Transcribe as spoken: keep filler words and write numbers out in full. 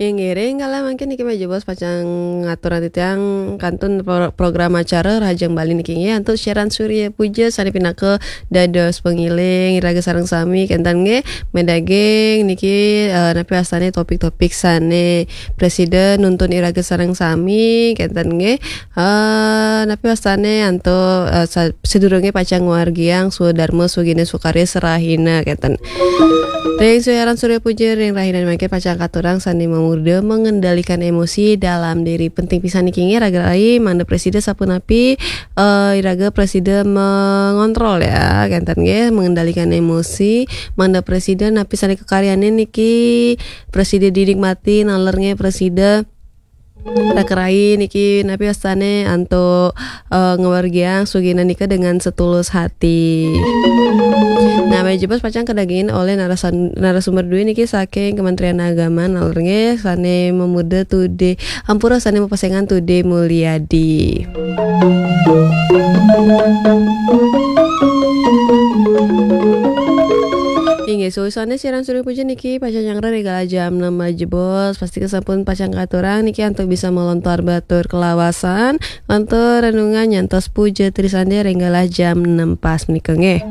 Inggih, ring kala mangkin niki Majebos pacang ngaturang titiang kantun pro-, program acara Rahajeng Bali niki nggih antuk siaran Surya Puja sané pinaka dados pangiling iraga sareng sami kénten nggih. Madaging niki, eh, napi wastané topik-topik sané prasida nuntun iraga sareng sami kénten nggih. Eh, napi wastané antuk, eh, sa-, sadurungé pacang ngawargiang swadarma swagina swakarya sarahina kénten. Ring siaran Surya Puja ring rahina mangkin pacang katurang sané mamurda mengendalikan emosi dalam diri. Penting pisan niki nggih raga rai mangda prasida sapunapi, eh, iraga prasida mengontrol ya, kénten nggih, mengendalikan emosi, mangda prasida napi sané kakaryanin niki prasida dinikmati, naler nggih prasida raga rai niki napi wastané antuk, eh, ngawargiang swagina nika dengan setulus hati. Nah, Majebos pacang kadagingin olih narasan-, narasumber duwé niki saking Kementerian Agama, naler nggih sané mamurda Tude, ampura sané mapesengan Tude Mulyadi. Inggih, sawisané siaran Surya Puja niki pacang nyanggra ring kala jam enam Majebos. Pastika sampun pacang katurang niki antuk bisa malontar batur kalawasan, lantur renungan nyantos puja trisandya ring kala jam enam pas menika nggih.